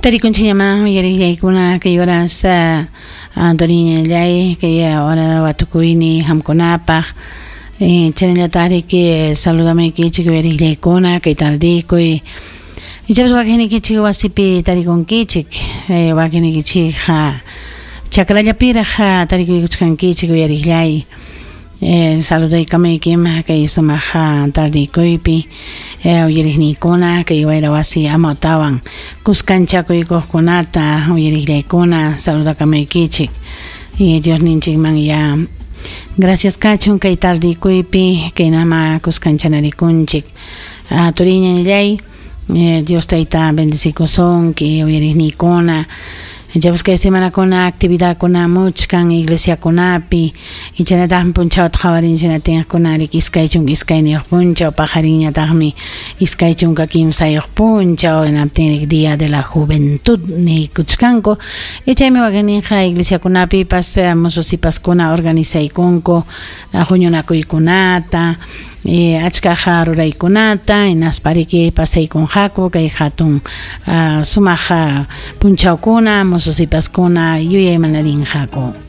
Tarikunchikñamá uyariqllaykuna kay horas Antoniñallay kay hora watukuyni qamkunapaq chaynallataqriki saludamuykichik uyariqllaykuna kay tardikuy ichapas wakinnikichik wasipi tarikunkichik wakinnikichikqa chakrallapiraq tarikuykuchkankichik uyariqllay Saludaykamuykim kay sumaq tardikuypi uyariqniykuna kay wayra wasi amawtawan kuskanchakuykuqkunata uyariqllaykuna saludakamuykichik Diosninchikman ya gracias kachun kay tardikuypi kaynama kuskanchanarikunchik turiñallay Dios tayta bendecikusunki uyariqniykuna Ichapas kay semanakuna actividadkuna muchkan iglesiakunapi ichanataqmi punchawta qhawarin tinqkuna riki 22 punchaw paqarinñataqmi 23 punchaw hinaptin día de la juventud niykuchkanku chaymi wakinninqa iglesiakunapipas mususipaskuna organizaykunku huñunakuykunata achkaqa ruraykunata hinaspa riki pasaykunqaku kay hatun sumaq punchawkuna mususipaskuna yuyaymanarinqaku.